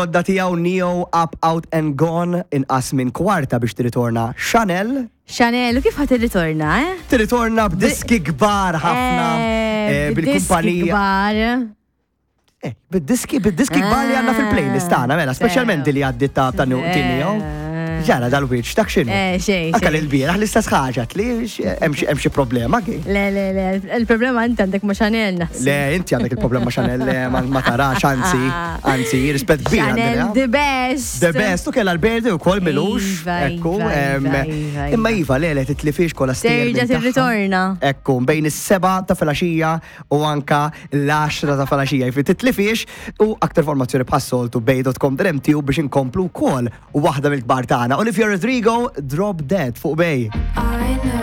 Ġodda tiegħu Neo Up Out and Gone inqas minn kwarta biex tirritorna Chanel. Chanel, u kif ħa tirritorna, eh? Tirritorna b'diski kbar ħafna eh, eh, bil-kumpanija. Kbar. Eh, bid-diski, bid-diski kbar li għandna fil-playlist tagħna, mela, speċjalment li għaddit ta' ta' Neo. Ġara dal-wiċċ, dak x'inhu? Eh, xejn. Anka l-bieraħ l-istess ħaġa li hemm xi problema kien. Le, le, le, il-problema inti għandek ma' Chanel naħseb. Le, inti għandek il-problema ma' Chanel, le, ma tarax, anzi, anzi, rispett kbir. Chanel the best. The best, u kella l-berdi u kol milux. Iva, Ekku, iva, iva, iva, imma iva, le, le, titlifix kolla stejjer. Terġa' minn tagħha. tirritorna. Ekku, bejn is-7 ta' filgħaxija u anka l-10 ta' filgħaxija. Jiġifieri titlifix u aktar formazzjoni bħas-soltu bay.com.mt u biex inkomplu wkoll waħda mill-kbar tagħna. Olivia Rodrigo, Drop Dead fuq Bay.